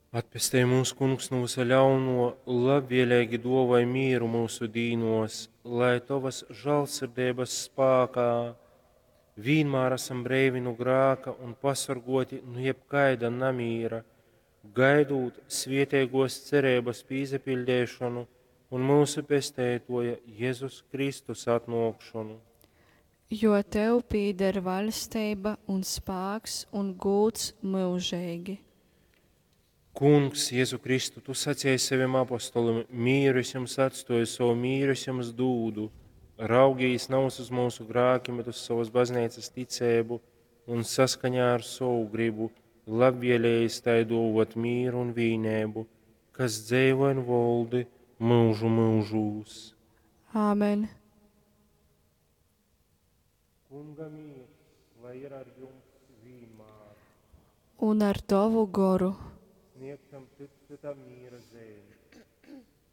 Atpestej mūs, Kungs, nu vysa ļaunuo, labvieleigi duovoj mīru myusu dīnuos, lai Tovys žālsirdeibys spākā vīnmār asam breivi nu grāka un pasorguoti nu jebkaida namīra, gaidūt svieteiguos cereibys pīsapiļdeišonu un myusu Pesteituoja Jezus Kristus atnuokšonu. Jo Tev pīder vaļsteiba un spāks un gūds myužeigi. Kungs, Jezu Kristu, Tu saceji sovim apostolim: Mīru es jums atstoju, sovu mīru es jums dūdu. Raugīs navys uz myusu grākim, bet uz sovas bazneicas ticeibu un saskaņā ar sovu gribu labvēlējies tai dōvōt mīru un vīneibu, kas dzeivoj un voldi myužu myužūs. Āmen. Kunga mīrs, lai ir ar jums vīnmār. Un ar Tovu goru. Sniegsim cyts cytam mīra zeimi.